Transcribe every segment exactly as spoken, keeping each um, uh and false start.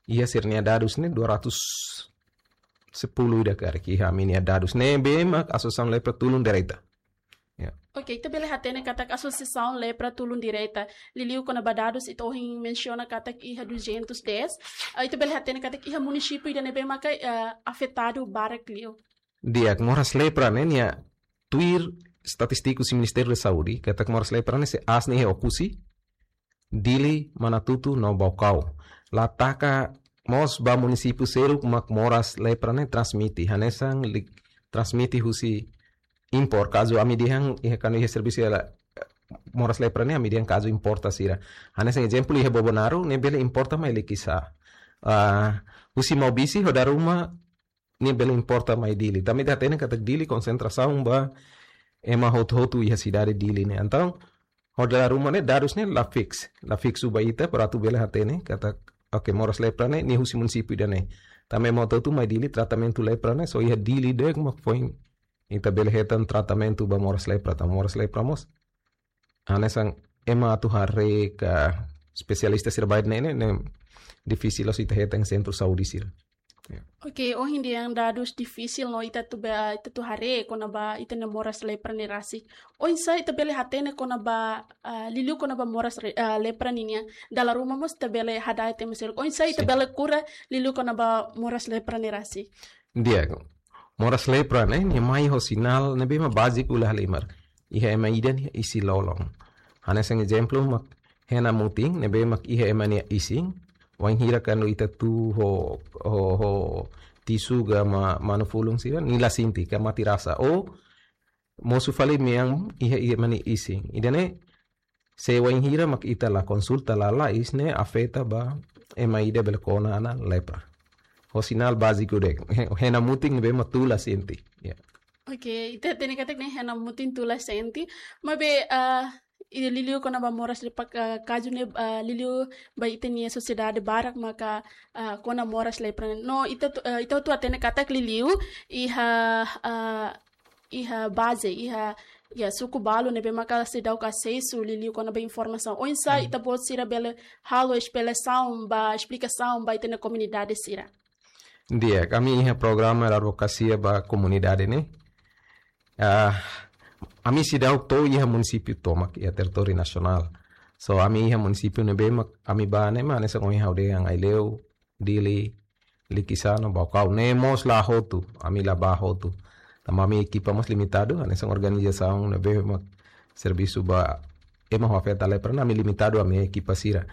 iha sira-nia dadus ne'e dua ratus sepuluh ida karik iha ami-nia dadus ne'ebé mak asosiasaun lepra tulun direta. Ya. Oke, ita bele hatene katak asosiasaun lepra tulun direta. Liuliu kona-ba dadus ita ohin mensiona katak iha duzentos dez. Ah, ita bele hatene katak iha munisípiu ida ne'ebé maka, eh, afetadu barak liu. Di'ak, moras lepra ne'e nia tuir estatístiku husi Ministériu da Saúde, katak moras lepra ne'e sei aas ne'e iha Oekusi, Dili, Manatuto no Baucau. La taka mós ba munisípiu seluk mak moras lepra ne'e transmite. Hanesan li-, transmite husi impor. Kazu ami dehan iha kuandu iha servisu iha la-, moras lepra ne'e ami dehan kazu importa sira. Hanesan ezemplu iha Bobonaro ne'e bele importa mai Likisá. Ah, husi Maubisse ho Daruma ne'e bele importa mai Dili. Tanba ita hatene katak Dili konsentrasaun ba ema hotu-hotu iha sidade Dili ne'e. Entaun, ho Daruma ne'e dadus ne'e la fix. La fiksu ba ita para atu bele hatene katak, oke, moras lepra ne'e nia husi munisípiu ida-ne'e. Tanba ema hotu-hotu mai Dili, tratamentu lepra ne'e só iha Dili de'it mak foin ita bele hetan tratamentu ba moras lepra, tanba moras lepra mós hanesan ema atu haree ka espesialista sira ba ne'e, ne'e, ne'e difisil la'ós ita hetan sentru saúde sira. Ya. Oke, ohin dehan dadus difisil no ita atu ba, ita atu haree kona-ba ita-nia moras lepra ne'e rasik. Oinsá ita bele hatene kona-ba, ah, liuliu kona-ba moras re-, ah, lepra ninian. Dala ruma mós ita bele hada'et ema seluk. Oinsá ita Sin. bele kura liuliu kona-ba moras lepra ne'e rasik. Di'ak, moras lepra ne'e, nia mai ho sinál ne'ebé mak báziku la halimar. Iha ema ida nia isin-lolon. Hanesan ezemplu mak hena mutin, ne'ebé mak iha ema nia isin. Wainhira kuandu ita tuur ho, ho, ho tisu ka ma-, manu-fulun sira, nia la sente, ka mate rasa. Ou, mosu fali mean iha, iha ema nia isin. Ida-ne'e, se wainhira mak ita la konsulta lalais ne'e afeta ba ema ida bele kona ona lepra. Ho sinál báziku de'it. He-, hena mutin ne'ebé mak tuur la sente. Ya. Oke, ita hatene katak ne'e hena mutin tuur la sente. Maibé, ah, i liuliu kona-ba moras lepra, ah, kazu ne'e, ah, liuliu ba ita-nia sosiedade barak maka, ah, kona moras lepra. No, ita atu, ah, ita atu hatene katak liuliu iha, ah, iha baze, iha, ya, suku balu ne'ebé maka seidauk asesu liuliu kona-ba informasaun. Oinsá Hmm. ita-boot sira bele halo esplikasaun ba, esplikasaun ba ita-nia komunidade sira. Di'ak, ami iha programa advokasia ba komunidade ne'e. Ah, ami seidauk to'o iha munisípiu tomak iha territóriu nasionál. So, ami iha munisípiu ne'ebé mak ami bá ne'e mak hanesan ohin ha'u dehan Aileu, Dili, Likisá no Baucau. Ne'e mós la hotu, ami la bá hotu. Tanba ami ekipa mós limitadu, hanesan organizasaun ne'ebé mak servisu ba ema ho afeta lepra ne'e ami limitadu ami ekipa sira.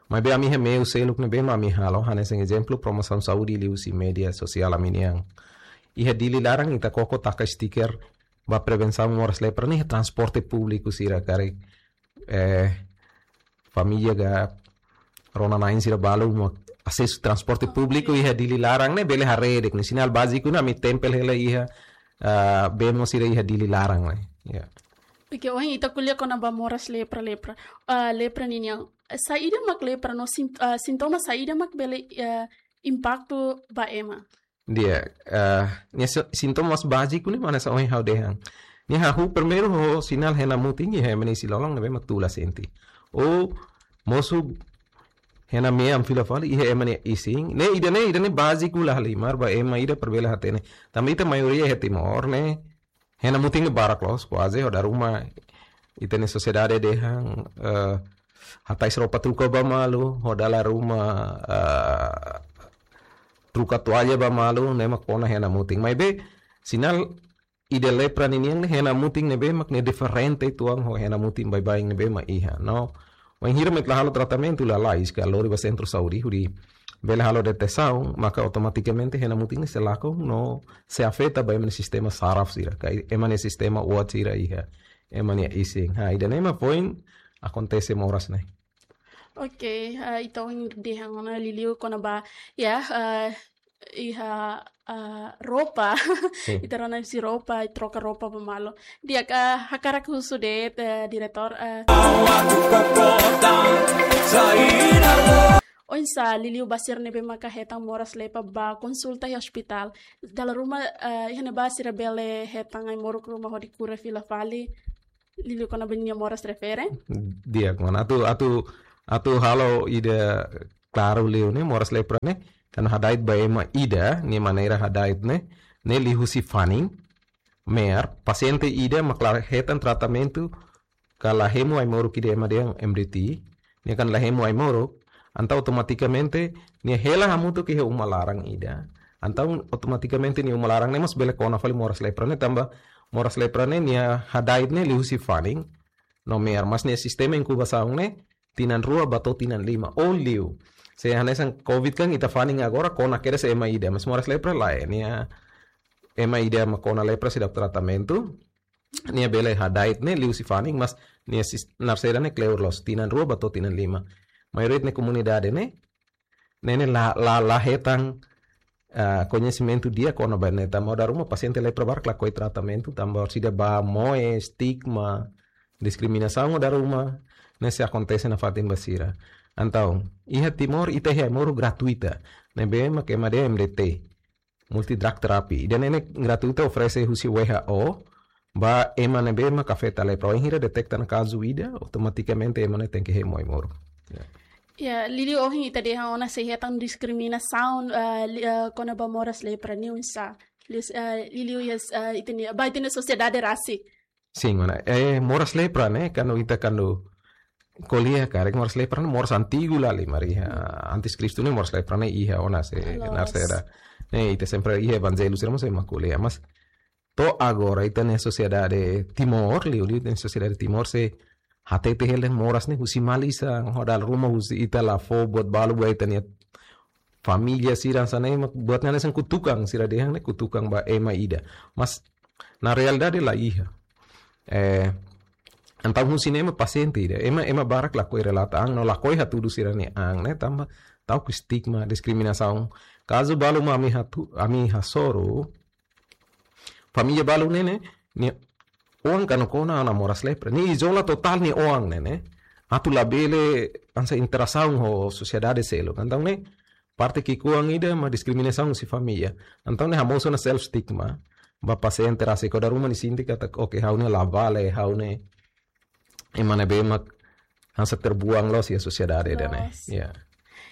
Maibé ami iha meiu seluk ne'ebé mak ami halo, hanesan ezemplu promosaun saúde liuhusi média sosiál ami-nian. Iha Dili laran ita koko taka stiker ba prevensaun moras lepra ne'e iha transporte públiku sira karik, eh, família ka rona-na'in sira balu mak asesu transporte públiku iha Dili laran ne'e bele haree de'it ne'e sinál báziku ne'e ami tempel hela iha, ah, bemo sira iha Dili laran ne'e. Ya. Oke, ohin ita ko'alia kona-ba moras lepra, lepra. Ah, lepra ninian. Saida mak lepra no sin-, ah, sintoma saida mak bele, ah, impaktu ba ema. Di'ak, ah, nia si-, sintoma mós báziku ne'e mak hanesan ohin ha'u dehan. Nia hahú primeiru ho sinál hena mutin iha ema nia isin-lolon ne'ebé mak tuur la sente. Ou mosu hena mean fila fali iha ema nia isin. Ne'e ida-ne'e, ida-ne'e báziku la halimar ba ema ida para bele hatene. Tanba ita maioria iha Timor ne'e hena mutin ne'e barak loos, kuaze ho dala ruma ita-nia sosiedade dehan, eh, hatais roupa troka ba malu, ho dala ruma, eh, troka toalla ba malu, ne'e mak kona hena mutin. Maibé, sinál ida lepra ninian ne'e hena mutin ne'ebé mak ne'e diferente uitoan ho hena mutin baibain ne'ebé mak iha. No, wainhira mak ita la halo tratamentu lalais ka lori ba sentru saúde hodi bele halo detesaun, maka automatikamente hena mutin ne'e sei lakon no sei afeta ba ema nia sistema saraf sira, ka ema nia sistema uat sira iha ema nia isin. Ha, ida-ne'e mak foin akontese moras ne'e. Oke, ah, entaun dehan ona liuliu kona-ba, ya, ah, iha, ah, roupa. Sin. Ita rona husi roupa, troka roupa ba malu. Di'ak, hakarak husu de'it, eh, diretór, eh, oinsá liuliu ba sira ne'ebé maka hetan moras lepra bá konsulta iha ospitál. Dala ruma, eh, iha ne'ebá sira bele hetan ai-moruk ruma hodi kura fila fali. Liuliu kona-ba nia moras refere. Di'ak, mana atu, atu, atu halo ida klaru liu ne'e, moras lepra ne'e, kuandu hada'et ba ema ida, nia maneira hada'et ne'e, ne'e liuhusi fanin, me'ar, pasiente ida mak la hetan tratamentu, ka la hemu ai-moruk ida ema dehan M D T, nia kan la hemu ai-moruk, entaun automatikamente, nia hela hamutuk iha uma laran ida. Entaun automatikamente nia uma laran ne'e mós bele kona fali moras lepra ne'e, tanba moras lepra ne'e, nia hada'et ne'e liuhusi fanin, no me'ar, mas nia sistema inkubasaun ne'e, tinan rua ba to'o tinan lima, ou liu. Se hanesan covid kan ita fanin agora kona kedas ema ida, mas moras lepra lae, nia ema ida mak kona lepra seidauk tratamentu, nia bele hada'et ne'e liuhusi fanin, mas nia sis-, narsera ne'e kleur loos, tinan rua ba to'o tinan lima. Maioria ita-nia komunidade ne'e, ne'e ne'e la, la, la hetan, ah, koñesimentu di'ak kona-ba ne'e, tanba dala ruma pasiente lepra barak lakohi tratamentu, tanba orsida ba moe, estigma, diskriminasaun dala ruma, ne'e sei akontese nafatin ba sira. Entaun, iha Timor, ita iha ai-moruk gratuita, ne'ebé mak ema dehan M D T, multi drug therapy. Ida-ne'e ne'e gratuita, oferese husi W H O, ba ema ne'ebé mak afeta lepra. Wainhira deteta ona kazu ida, automatikamente ema ne'e tenke hemu ai-moruk. Ya. Ya, liuliu ohin ita dehan ona sei hetan diskriminasaun, eh, li-, eh, kona-ba moras lepra ne'e oinsá. Liu, eh, liuliu iha, eh, ita-nia, ba ita-nia sosiedade rasik. Sin, mana. Eh, moras lepra ne'e, kuandu ita kuandu ko'alia karik moras lepra ne'e moras antigu lahalimar iha. Antes Kristu ne'e moras lepra ne'e iha ona se Loos. Narsera. Ne'e, ita sempre iha evanjellu sira mós ema ko'alia. Mas to'o agora ita-nia sosiedade Timor, liuliu ita-nia sosiedade Timor sei hatete hela moras ne'e husi malisan, ho dala ruma husi ita la fó buat balu ba ita-nia família sira hanesan ne'e, mak buat ne'e hanesan kutukan, sira dehan ne'e kutukan ba ema ida. Mas na realidade la iha. Eh, entaun husi ne'e mak pasiente ida, ema, ema barak lakohi relata an, no lakohi hatudu sira-nia an ne'e, tanba ta'uk estigma, diskriminasaun. Kazu balu mak ami hatu-, ami hasoru, família balu ne'e ne'e, nia oan kuandu kona ona moras lepra, nia izola totál nia oan ne'e ne'e, atu labele hanesan interasaun ho sosiedade seluk. Entaun ne'e, parte ki'ikoan ida mak diskriminasaun husi família. Entaun ne'e hamosu ona self stigma ba pasiente rasik, ho dala ruma nia sente katak, oke, ha'u ne'e la vale, ha'u ne'e ema ne'ebé mak hanesan terbuang loos iha sosiedade ida-ne'e. Loos. Ya.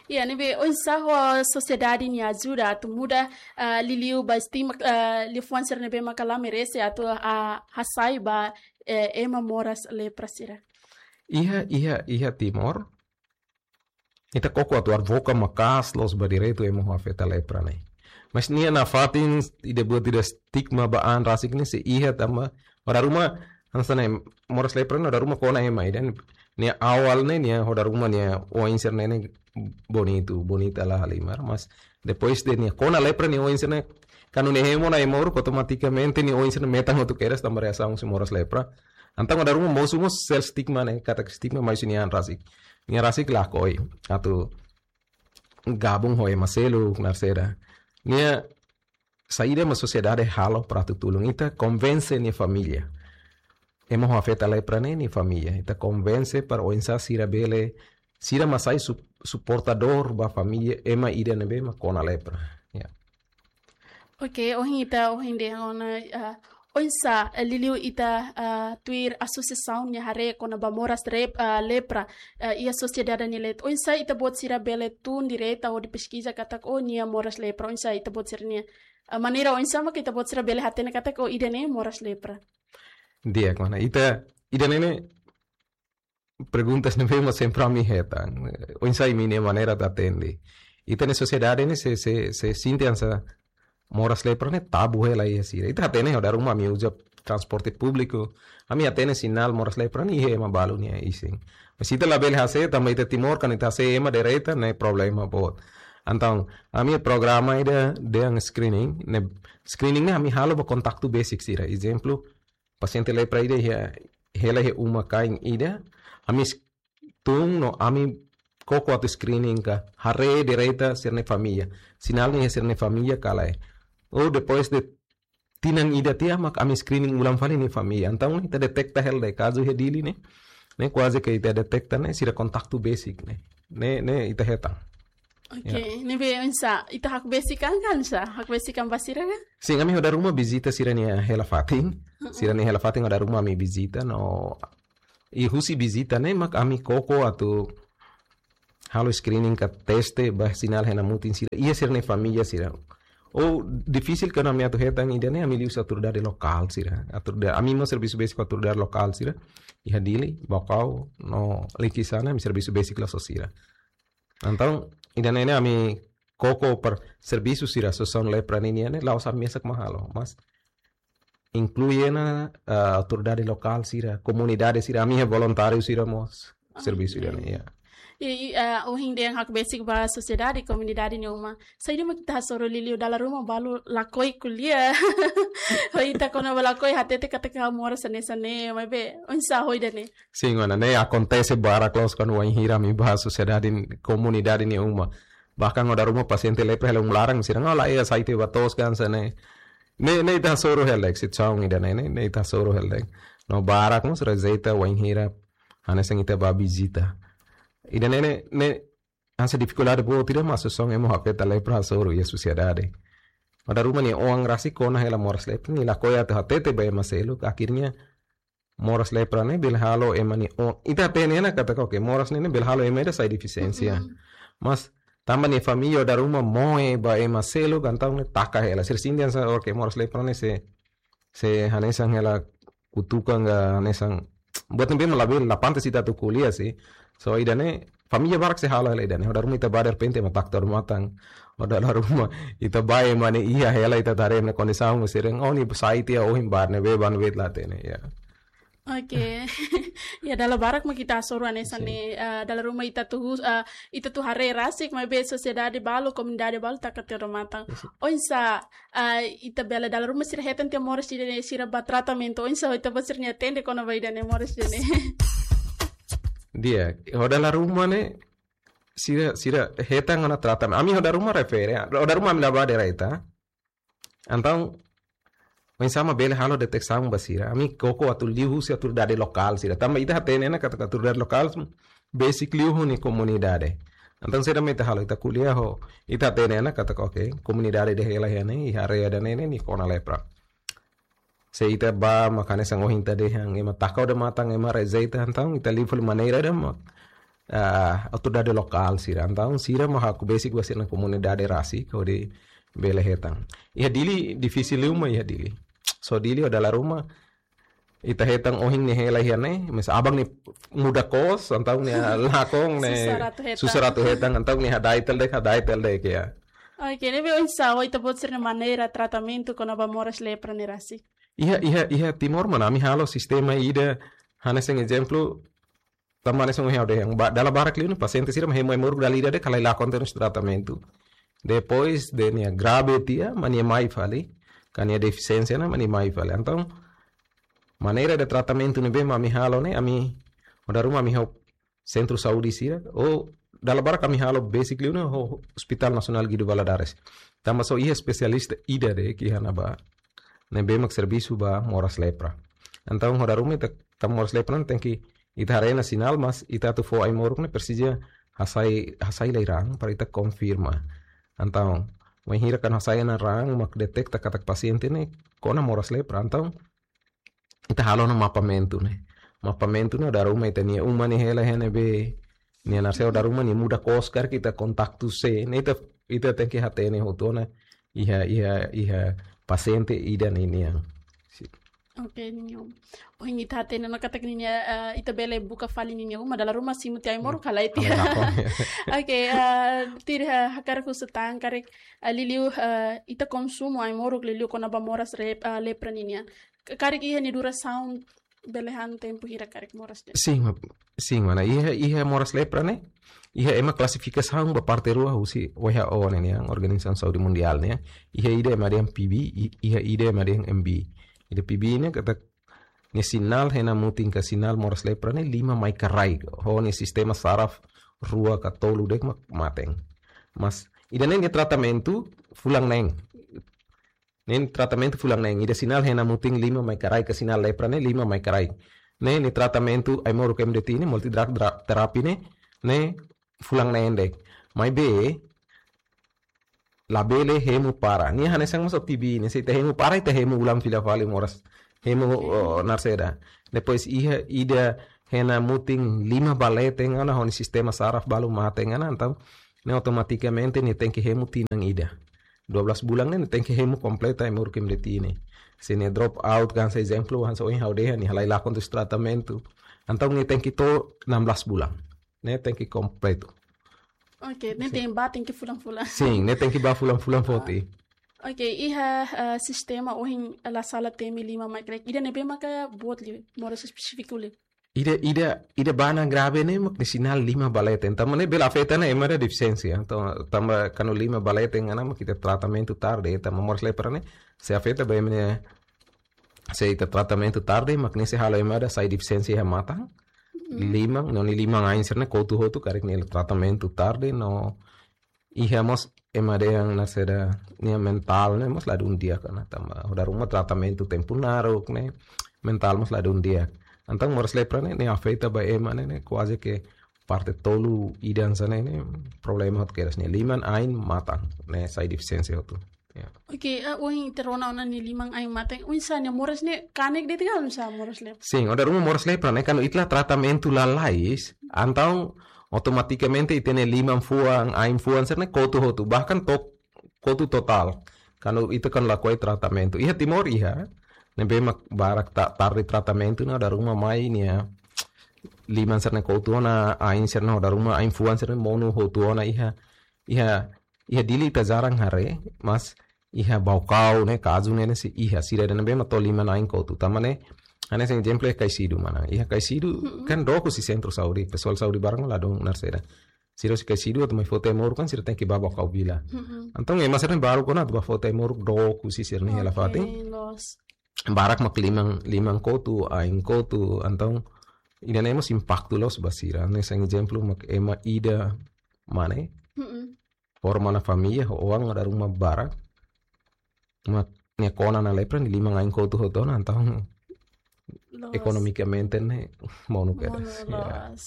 Ya, ne'ebé oinsá ho sosiedade nia ajuda atu muda, ah, liuliu ba estigma, ah, liafuan sira ne'ebé maka la merese atu, ah, hasai ba, eh, ema moras lepra sira. Iha, iha, iha Timor, ita koko atu advoka maka'as loos ba direitu ema ho afeta lepra ne'e. Mas nia nafatin ida buat ida estigma ba an rasik ne'e sei iha tanba ho dala ruma hanesan ne'e moras lepra ne'e ho dala ruma kona ema ida ne'e, nia awal ne'e nia ho dala ruma nia oin sira-ne'e ne'e bonitu, bonita lahalimar. Mas depois de nia kona lepra nia oin sira-ne'e, kuandu nia hemu ona ai-moruk automatikamente nia oin sira-ne'e metan hotu kedas tanba reasaun husi moras lepra. Entaun ho dala ruma mosu mós self stigma ne'e, katak estigma mai husi nia an rasik. Nia rasik lakohi atu gabung ho ema seluk, narsera. Nia saida mak sosiedade halo para atu tulun ita, konvense nia família. Ema ho afeta lepra ne'e nia família. Ita konvense para oinsá sira bele, sira mak sai su-, suportadór ba família ema ida ne'ebé mak kona lepra. Ya. Oke, ohin ita, ohin dehan ona, ah, oinsá, eh, liuliu ita, ah, tuir asosiasaun nia haree kona-ba moras rep-, ah, lepra, eh, iha sosiedade nia leet. Oinsá ita-boot sira bele tun direta hodi peskiza katak, oh, nia moras lepra. Oinsá ita-boot sira-nia, ah, maneira oinsá mak ita-boot sira bele hatene katak, oh, ida-ne'e moras lepra. Di'ak, mana. Ita, ida-ne'e ne'e perguntas ne'ebé mak sempre ami hetan. Oinsá imi-nia maneira atu atende. Ita-nia sosiedade ne'e sei, sei, sei sente hanesan moras lepra ne'e tabu hela iha sira. Ita hatene ho dala ruma ami uza transporte públiku. Ami hatene sinál moras lepra ne'e iha ema balu nia isin. Mas ita labele hase'e, tanba ita Timor, kuandu ita hase'e ema direta, ne'e problema boot. Entaun, ami programa ida dehan screening, ne'e screening ne'e ami halo ba kontaktu besik sira. Ezemplu, pasiente lepra ida iha, hela iha uma-kain ida, ami s-, tun no ami koko atu screening ka, haree direta sira-nia família. Sinál ne'e iha sira-nia família ka lae. Ou depois de tinan ida tiha mak ami screening ulang fali nia família. Entaun ita deteta hela de'it kazu iha Dili ne'e. Ne'e kuaze ke ita deteta ne'e sira kontaktu besik ne'e. Ne'e, ne'e ita hetan. Oke, ya. Ne'ebé oinsá, ita hakbesik an ka oinsá? Hakbesik an ba sira ka? Sin, ami ho dala ruma vizita sira-nia hela fatin. Mm-mm. Sira-nia hela fatin ho dala ruma ami vizita no, i husi vizita ne'e mak ami koko atu halo screening ka teste ba sinál hena mutin sira iha sira-nia família sira. Ou difisil ke ami atu hetan ida-ne'e, ami liuhusi autoridade lokál sira. Autoridade, ami mós servisu besik ho autoridade lokál sira iha Dili, Baucau no Likisá ne'e, ami servisu besik loos ho sira. Entaun ida-ne'e ne'e ami koko para servisu sira asosiasaun lepra ninian ne'e, la'ós ami mesak mak halo, mas inklui ona, ah, autoridade lokál sira, komunidade sira, ami iha voluntáriu sira mós servisu ida-ne'e, ya. I, i, ah, ohin dehan hakbesik ba sosiedade, komunidade nia uma. Saida mak ita hasoru liuliu, dala ruma balu lakohi ko'alia. Ho ita kona-ba lakohi hatete katak moras hanesan ne'e, maibé oinsá ho ida-ne'e? Sin, mana, ne'e akontese barak loos kuandu wainhira ami bá sosiedade, komunidade nia uma. Bahkan ho dala ruma pasiente lepra hela uma laran, sira hanoin, la iha, sai tiha ba to'os hanesan ne'e. Ne'e, ne'e ita hasoru hela de'it, situasaun ida-ne'e, ne'e, ne'e ita hasoru hela de'it. No barak mós rejeita wainhira hanesan ita bá vizita. Ida-ne'e, ne'e, ne'e hanesan difikuldade boot ida mak asosiasaun ema afeta lepra hasoru iha sosiedade. Ho dala ruma nia oan rasik kona hela moras lepra, nia lakohi atu hatete ba ema seluk, akhirnya moras lepra ne'e bele halo ema nia oan. Ita hatene ona katak, oke, moras ne'e, ne'e bele halo ema ida sai defisiénsia. Mm-mm. Mas tanba nia família ho dala ruma moe ba ema seluk, entaun ne'e taka hela. Sira sente hanesan, oke, moras lepra ne'e sei, sei hanesan hela kutukan ka hanesan buat ne'ebé mak labele, la pantas ita atu ko'alia sih. So, ida-ne'e família barak sei halo hela ida-ne'e. Ho dala ruma ita bá derrepente ema taka to'o odamatan. Ho dala ruma ita bá ema ne'e iha hela, ita haree ema nia kondisaun, sira dehan, "Oh, nia sai tiha ohin, barak ne'ebé, barak ne'ebé la hatene." Ya. Oke. Ya, dala barak mak ita hasoru hanesan ne'e, eh, dala ruma ita atu, eh, ita atu haree rasik, maibé sosiedade balu, komunidade balu taka to'o odamatan. Oinsá, eh, ita bele, dala ruma sira hetan tiha moras ida-ne'e, sira bá tratamentu, oinsá ita bá sira-nia atende kona-ba ida-ne'e, moras ida-ne'e? Di'ak, ho dala ruma ne'e, sira, sira hetan ona tratamentu. Ami ho dala ruma refere, ho dala ruma ami la bá direta. Entaun, oinsá mak bele halo deteksaun ba sira? Ami koko atu liuhusi autoridade lokál sira. Tanba ita hatene ona katak autoridade lokál besik liu ho nia komunidade. Entaun saida mak ita halo, ita ko'alia ho, ita hatene ona katak, oke, komunidade ida hela iha ne'e, iha área ida-ne'e ne'e, nia kona lepra. Se ita bá mak hanesan ohin ita dehan, ema taka odamatan, ema rejeita, entaun ita liu fali maneira ida mak, ah, autoridade lokál sira. Entaun sira mak hakbesik ba sira-nia komunidade rasik hodi bele hetan. Iha Dili difisil liu mak iha Dili. So Dili ho dala ruma ita hetan ohin nia hela iha ne'e, mas aban ne'e muda kos, entaun nia lakon ne'e, susar atu hetan. Susar atu hetan, entaun nia hada'et hela de'it, hada'et hela de'it, ya. Oke, ne'ebé oinsá, oinsá ita-boot sira-nia maneira tratamentu kona-ba moras lepra ne'e rasik? Iha, iha, iha Timor, mana, ami halo sistema ida, hanesan ezemplu, tanba hanesan ohin ha'u dehan, ba, dala barak liu ne'e pasiente sira mak hemu ai-moruk dala ida de'it, ka la lakon tiha ona tratamentu. Depois de nia grave tiha, mak nia mai fali, ka nia defisiénsia ne'e, mak nia mai fali. Entaun, maneira de tratamentu ne'ebé mak ami halo ne'e, ami, ho dala ruma ami ho sentru saúde sira, ou dala barak ami halo besik liu ne'e ho Hospital Nasionál Guido Valadares. Tanba só iha espesialista ida de'it iha ne'ebá, ne'ebé mak servisu ba moras lepra. Entaun, ho dala ruma ita, tanba moras lepra ne'e tenke, ita haree ona sinál, mas ita atu fó ai-moruk ne'e presiza hasai, hasai lai raan para ita konfirma. Entaun, wainhira kuandu hasai ona raan mak deteta katak pasiente ne'e kona moras lepra. Entaun, ita halo ona mapamentu ne'e. Mapamentu ne'e, ho dala ruma ita-nia uma ne'e hela iha ne'ebé, nia naseu, ho dala ruma nia muda kos karik, ita kontaktu sé, ne'e ita, ita tenke hatene hotu ona iha, iha, iha pasiente ida-ne'e nian. Si. Oke, niño. Ohin ita hatene ona katak ninia, eh, ita bele buka fali ninia uma, dala ruma simu tiha ai-moruk ka lae tiha. Ka lae, ya. Oke, eh, tuir, eh, hakarak husu tan karik, eh, liuliu, eh, ita konsumu ai-moruk liuliu kona-ba moras rep-, eh, lepra ninian. K-, karik iha nia durasaun bele han tempu hira karik moras ne'e? Sin, ma-, sin, mana, iha, iha moras lepra ne'e, iha ema klasifikasaun ba parte rua husi W H O ne'e nian, Organizasaun Saúde Mundiál ne'e. Iha ida ema dehan P B, i-, iha ida ema dehan M B. Ida P B ne'e katak nia sinál hena mutin ka sinál moras lepra ne'e lima mai ka rai, ho nia sistema saraf rua ka tolu de'it mak maten. Mas ida-ne'e nia tratamentu fulan neen. Ne'e tratamentu fulan neen, ida sinál hena mutin lima mai ka rai, ka sinál lepra ne'e lima mai ka rai. Ne'e, nia tratamentu ai-moruk M D T ne'e, multi drug dra-, therapy ne'e, ne'e fulan neen de'it. Maibé labele hemu para. Nia hanesan mós T B ne'e, se ita hemu para, ita hemu ulang fila fali moras. Hemu, oh, narseda. Depois iha ida hena mutin lima ba leten ona ho nia sistema saraf balu mate ona, entaun ne'e automatikamente nia tenke hemu tinan ida. Dua belas bulan ne'e nia tenke hemu kompleta ai-moruk ema de'it ne'e. Se nia drop out, hanesan ezemplu, hanesan ohin ha'u dehan, nia halai lakon tuir tratamentu, entaun nia tenke to'o enam belas bulan. Ne'e tenke kompletu. Oke, ne'e tenke ba, tenke fulan-fulan. Sin, ne'e tenke ba fulan-fulan foti. Oke, iha, eh, sistema ohin la sala temi lima mai, karik ida ne'ebé maka boot liu, moras espesífiku liu? Ida, ida, ida ba ona grave ne'e mak nia sinál lima ba leten. Tanba ne'e bele afeta ona ema ida defisiénsia. Entaun, tanba kuandu lima ba leten ona mak ita tratamentu tarde, tanba moras lepra ne'e sei afeta ba ema ne'e, se ita tratamentu tarde, mak ne'e sei halo ema ida sai defisiénsia iha matan, liman, no nia liman-ain sira-ne'e kotu hotu, karik nia tratamentu tarde, no iha mós ema dehan hanesan ida nia mentál ne'e mós ladún di'ak ona, tanba ho dala ruma tratamentu tempu naruk ne'e, mentál mós ladún di'ak. Entaun moras lepra ne'e, ne'e afeta ba ema ne'e, ne'e kuaze ke parte tolu ida hanesan ne'e, ne'e problema hotu kedas, nia liman, ain, matan, ne'e sai defisiénsia hotu. Ya. Oke, eh, ohin ita rona ona nia liman, ain, matan, oinsá nia moras ne'e, kanek de'it ka oinsá moras lepra? Sin, ho dala ruma moras lepra ne'e, kuandu ita la tratamentu lalais, entaun automatikamente ita-nia liman fuan, ain fuan sira-ne'e kotu hotu, bahkan to-, kotu totál. Kuandu ita kuandu lakohi tratamentu. Iha Timor iha, ne'ebé mak barak ta-, tarde tratamentu ne'e ho dala ruma mai nia liman sira-ne'e kotu ona, ain sira-ne'e ho dala ruma, ain fuan sira-ne'e monu hotu ona iha, iha, iha Dili ita jarang haree, mas iha Baucau ne'e, kazu ne'e, ne'e sei iha, sira ida ne'ebé mak to'o liman, ain kotu. Tanba ne'e, hanesan ezemplu iha Caixidu, mana. Iha Caixidu, mm-mm, kan dook husi sentru saúde, pesoál saúde barak ladún naran sira. Sira husi Caixidu atu mai foti ai-moruk kan sira tenke ba Baucau Vila. Mm-mm. Entaun ema sira-ne'e balu kona atu ba foti ai-moruk dook husi sira-nia hela fatin. Oke, loos. Barak mak liman, liman kotu, ain kotu, entaun ida-ne'e mós impaktu loos ba sira. Hanesan ezemplu mak ema ida mane, mm-mm, forma ona família, ho oan, ho dala ruma barak. Mak nia kona ona lepra, nia liman, ain kotu hotu ona, entaun, loos, ekonomikamente ne'e monu kedas. Monu, ya, loos.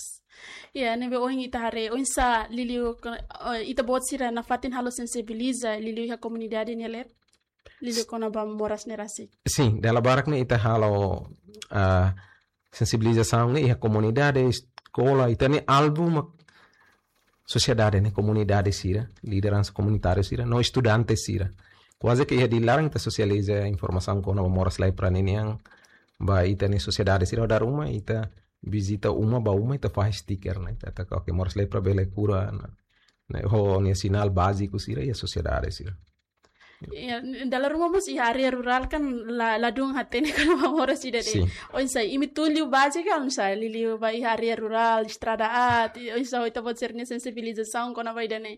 Ya, ne'ebé ohin ita haree, oinsá liuliu ko-, eh, ita-boot sira nafatin halo sensibiliza liuliu iha komunidade nia leet, liuliu kona-ba moras ne'e rasik? Sin, dala barak ne'e ita halo, ah, sensibilizasaun ne'e iha komunidade, eskola, ita-nia alvu mak sosiedade ne'e, komunidade sira, lideransa komunitáriu sira, no estudante sira. Kuaze ke iha Dili laran ita sosializa informasaun kona-ba moras lepra ninian ba ita-nia sosiedade sira, ho dala ruma ita vizita uma ba uma, ita fahe stiker ne'e, ita hateten katak moras lepra bele kura ona, ne'e, ho nia sinál báziku sira iha sosiedade sira. Ya, dala ruma mós iha área rurál kan la, ladún hatene kona-ba moras ida-ne'e. Sin. Oinsá, imi tun liu baze ka oinsá, liuliu ba iha área rurál, estrada aat, oinsá ho ita-boot sira-nia sensibilizasaun kona-ba ida-ne'e?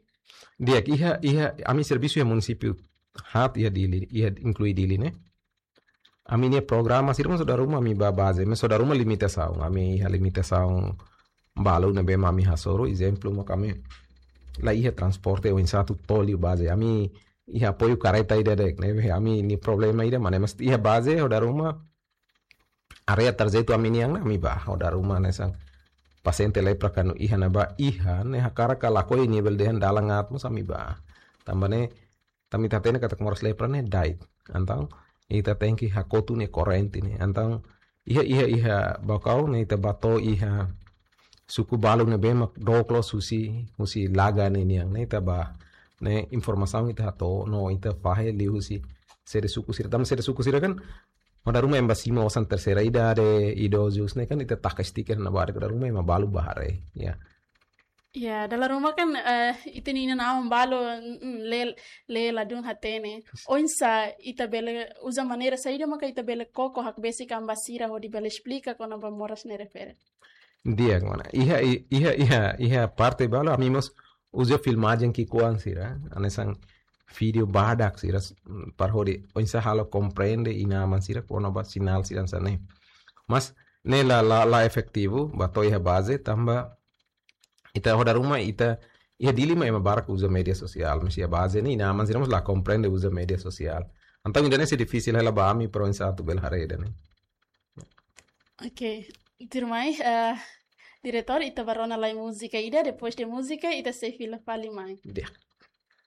Di'ak, iha, iha, ami servisu iha munisípiu haat iha Dili, iha inklui Dili ne'e. Ami-nia programa sira mós ho dala ruma ami ba baze, mas ho dala ruma limitasaun, ami iha limitasaun balu ne'ebé mak ami hasoru, ezemplu mak ami la iha transporte oinsá atu to'o liu baze, ami iha apoiu kareta ida de'it, ne'ebé ami-nia problema ida, mas ne'e mós iha baze ho dala ruma área tarjetu ami-nian ne'e ami ba, ho dala ruma hanesan pasiente lepra kuandu iha ne'ebá iha, ne'e hakarak ka lakohi nivel dehan dalan aat mós ami ba. Tanba ne'e, tanba ita hatene katak moras lepra ne'e da'et. Entaun, ita tenke hakotu nia korrente ne'e. Entaun, iha, iha, iha Baucau ne'e ita ba to'o iha suku balu ne'ebé mak dook loos husi, husi Laga ninian ne'e ita ba. Ne'e informasaun ita hato'o, no ita fahe liuhusi sede suku sira. Tanba sede suku sira kan, ho dala ruma ema ba simu osan terseira idade, idozus ne'e kan ita taka stiker iha ne'ebá, ho dala ruma ema balu bá haree, ya. Ya, dala ruma kan, eh, ita-nia inan-aman balu, mm, mm, lee, lee ladún hatene. Oinsá ita bele uza maneira saida maka ita bele koko hakbesik an ba sira hodi bele esplika kona-ba moras ne'e refere? Di'ak, mana. Iha, i-, iha, iha, iha parte balu, ami mós uza filmajen ki'ikoan sira, hanesan vídeo badak sira, s-, para hodi oinsá halo komprende inan-aman sira kona-ba sinál sira hanesan ne'e. Mas ne'e la, la, la efetivu ba to'o iha baze, tanba ita ho dala ruma ita, iha Dili mak ema barak uza média sosiál, mas iha baze ne'e inan-aman sira mós la komprende uza média sosiál. Entaun ida-ne'e sei difisil hela ba ami para oinsá atu bele haree ida-ne'e. Oke, tuirmai, eh, diretór, ita bá rona lai múzika ida, depois de múzika ita sei fila fali mai. Di'ak.